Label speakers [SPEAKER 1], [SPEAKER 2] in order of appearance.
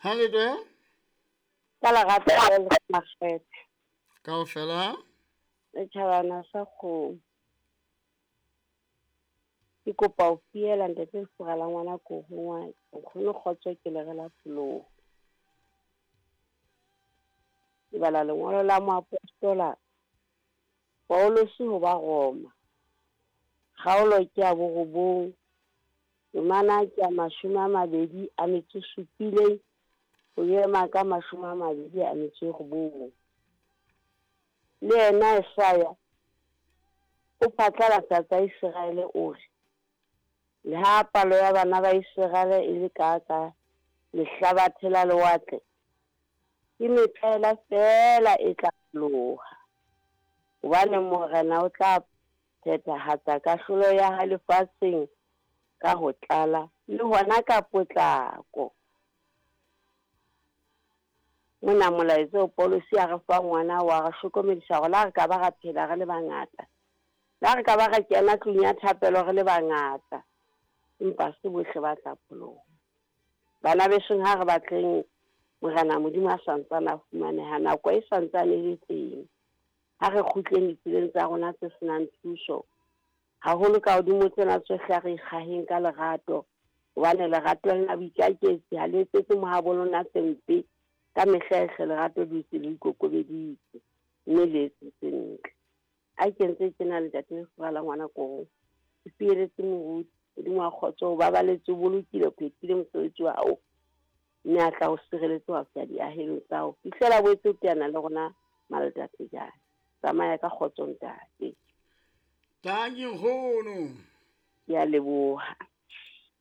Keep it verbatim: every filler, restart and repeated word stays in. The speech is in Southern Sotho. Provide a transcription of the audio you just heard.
[SPEAKER 1] Ha le twe?
[SPEAKER 2] Ka lerato le makgethe.
[SPEAKER 1] Kaofela?
[SPEAKER 2] Setjhabana sa kgomo. Ke kopa ho fiela ntate lefura la ngwana korongwa, nkgono kgotso ke lere la pholoho. Ke bala lengolo la moapostola Paulus ho ba Roma. Kgaolo ke ya borobong, temana ke ya mashome a mabedi a metso e supileng, ho ema ka mashome a mabedi a metso e robong. Le yena Esaya o phatlalatsa tsa Iseraele o re, le ha palo ya bana ba Iseraele e le ka ka lehlabathe la lewatle, ke metlaela feela e tla loha. Hobane Morena o tla phethahatsa kahlolo ya hae lefatsheng ka ho tlala le hona ka potlako. Mona molaetsa o Paulus a re fa ngwana wa re hlokomedisa hore la re ka ba ra phela re le bangata, la re ka ba ra kena tlung ya thapelo re le bangata, empa se bohle ba tla pholoha. Bana besong, ha re batleng Morena Modimo a santsane a fumaneha, nako e santsane e le teng. Ha re kgutleng ditseleng tsa rona tse senang thuso, haholo ka hodimo tsena tsohle a re ikgaheng ka lerato, hobane lerato lena boikaketsi ha le etsetse mohabo lona tse mpe. Ka mehla ehle lerato dutse le ikokobeditse mme le etsetse ntle. A ke ntse ke na le ntate lefura la ngwana korong, ke fieletse moruti Modimo wa kgotso, o babaletse, o bolokile, o phethile mosebetsi wa hao, mme a tla o sireletse wa fihla diahelong tsa hao fihlela boetse o teana le rona maletate jana. Tsamaya ka kgotso ntate.
[SPEAKER 1] Tanki nkgono.
[SPEAKER 2] Ke a leboha.